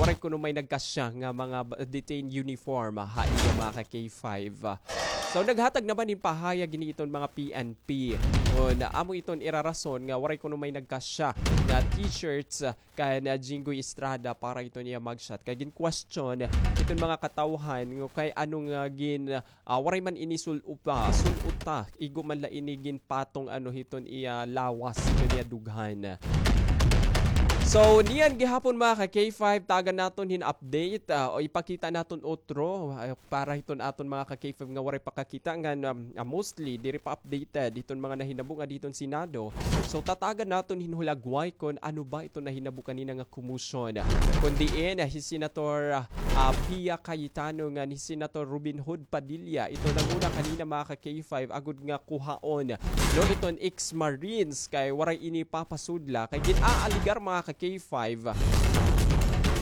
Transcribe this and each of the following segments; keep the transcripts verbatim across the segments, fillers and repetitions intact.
Waray kuno may nagkasya nga mga ba-, detained uniform, ah, ha iya mga ka-K five. So, naghatag naman hin pahayag ini iton mga P N P. Kon amo iton irarason nga waray kuno may nagkasya nga t-shirts, ah, kan, ah, Jinggoy Estrada para iton iya mugshot. Kay gin-question iton mga katawhan nga kay ano nga gin-, ah, waray man ini sul-uta, sul-uta, igo man la ini ginpatong ano hiton iya lawas, hiton iya dughan. So, niyan gihapon mga ka-K five, tagan naton hin update, ah, o ipakita naton otro, ah, para hiton aton mga ka-K five nga waray pa kakita ngan, um, ah, mostly diri pa updated hiton mga nahinabo nga didto han Senado. So, tatagan naton hin hulagway kon ano ba iton nahinabo kanina nga commotion. Kon diin, ah, hi Senator, ah, ah, Pia Cayetano ngan hi Senator Robin Hood Padilla, ito nanguna kanina mga ka-K five, agod nga kuhaon, no, iton ex-Marines kay waray ini papasudla kay gin-aaligar mga ka-K five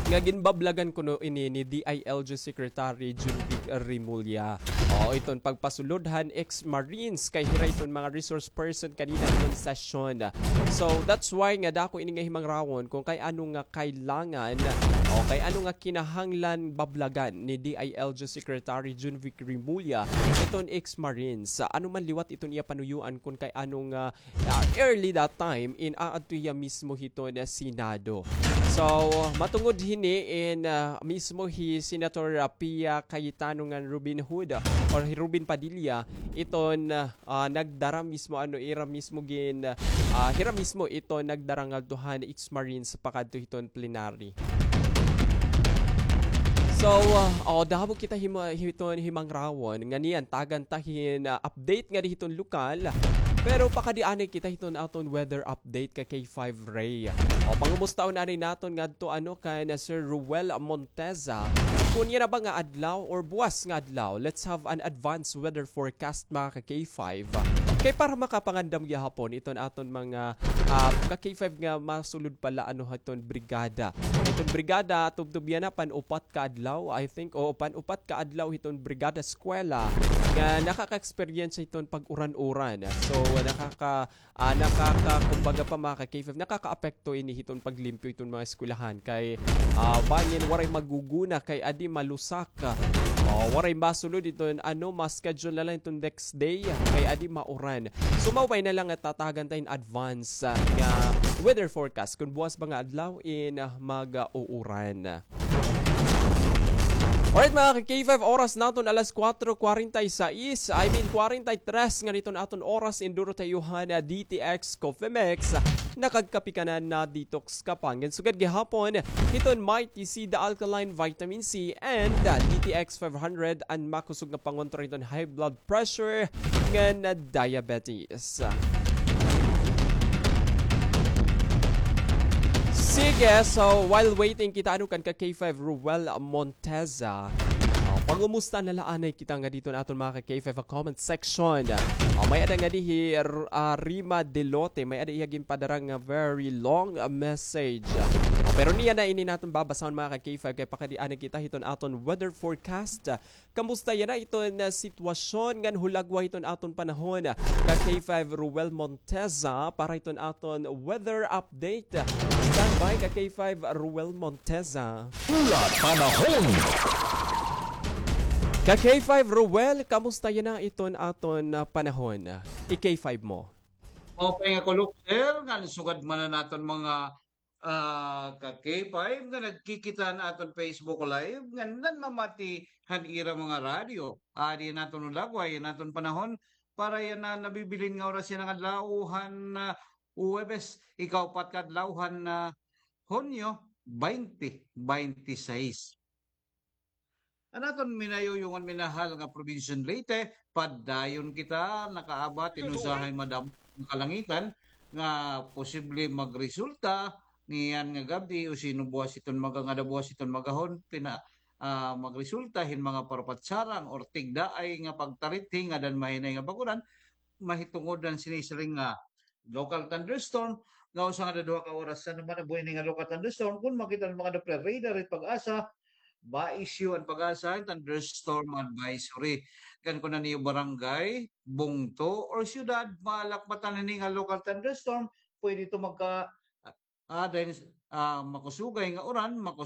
nga ginbablagan kuno ini ni D I L G Secretary Jun Vic Remulla. O, iton pagpasulod han ex-Marines kay hira iton mga resource person kanina iton session. So, that's why nga dako ini nga himangrawon kon kay ano nga kailangan o kay ano nga kinahanglan bablagan ni D I L G Secretary Jun Vic Remulla iton ex-Marines. Ano man liwat iton iya panuyoan kon kay ano nga ah, early that time in aadto hiya mismo hiton Senado. So, matungod hini in, ah, mismo hi Senator, ah, Pia Cayetano ngan Robin Hood, ah, or hi Robin Padilla, iton, ah, nagdara mismo, ano, ira mismo gin-, ah, hira mismo iton nagdara ngadto han ex-Marines pakadto hiton plenary. So, ah, o, damo kita hima-, hiton himangrawon nga niyan tagan ta hin, ah, update ngadi hiton lokal. Pero pakadi anay kita hiton aton weather update ka K five Ray. O, pangumustahon anay naton ngadto, ano, kan Sir Ruel Monteza. Kon yana ba nga adlaw or buwas nga adlaw, let's have an advance weather forecast, mga ka K five. Kay para makapangandam gihapon iton aton mga, ah, ka K five nga masulod pala, ano, hiton brigada. Iton brigada, tubtob yana, pan-upat ka adlaw, I think, o pan-upat ka adlaw hiton brigada eskwela nga nakaka-experience hiton pag-uran-uran. So, nakaka-, ah, nakaka-, kumbaga pa, mga ka K five, nakakaapekto ini hiton paglimpyo hiton mga eskwelahan kay, ah, bangin waray maguguna kay adi malusak. O, waray masulod iton, ano, ma-schedule na lang iton next day kay adi mauran. So, mao pa ini la nga tatagan ta in advance, ah, nga weather forecast kon buwas ba nga adlaw in, ah, mag-uuran. Alright, mga ka K five, oras naton alas kuwatro kwarenta y seis, I mean, kwarenta y tres nga iton aton oras in duro ta iyo han, ah, D T X Coffee Mix. Nakagkape ka na, na-detox ka pa. Ngan sugad gihapon hiton Mighty C, the alkaline vitamin C, and, ah, D T X five hundred, an makusog nga pangontra hiton high blood pressure ngan diabetes. Sige, so while waiting kita, ano, kan ka K five Ruel Monteza, ah, pangumusta na la anay kita ngadi hiton aton mga ka K five ha comment section. Ah, may-ada ngadi hi R-, ah, Rima Delote, may-ada iya ginpadara nga very long, ah, message. Ah, pero niyan na ini naton babasahon, mga ka K five, kay pakadi anay kita hiton aton weather forecast. Kamusta yana iton, ah, sitwasyon ngan hulagway hiton aton panahon? Ka K five Ruel Monteza para hiton aton weather update. Standby ka K five Ruel Monteza. Pula Panahon. Ka K five Ruel, kamusta yana iton aton, ah, panahon? I-K five mo. Okay nga kulop, sir, ngan sugad man an aton mga ah, ka K five nga nagkikita han aton Facebook Live nga nanmamati han ira mga radyo. Adi an aton hulagway, an aton panahon para yana nabibilin nga oras yana nga adlaw han, ah, Huwebes, ikaupat ka adlaw han, ah, Hunyo, twenty twenty-six. An aton minayuyong ngan minahal nga probinsya han Leyte, padayon kita nakaabat hin usahay madamo nga kalangitan nga posible magresulta niyan nga gab-i o sino buwas iton maga-, ngada buwas iton magahon, pina-, ah, magresulta hin mga parapatsarang or tigdaay nga pagtarithi ngada han mahinay nga bag-uran, mahitungod han sinisiring nga local thunderstorm, nga usa ngada duha ka oras. Ano man an buhi ini nga local thunderstorm? Kon makita an mga Doppler radar, it PAGASA, ba-issue an PAGASA hin thunderstorm advisory. Kan kon an iyo barangay, bungto, or syudad, malakbatan ini nga local thunderstorm, pwede ito magka-, ah, dahil, ah, makusugay nga uran, makus-,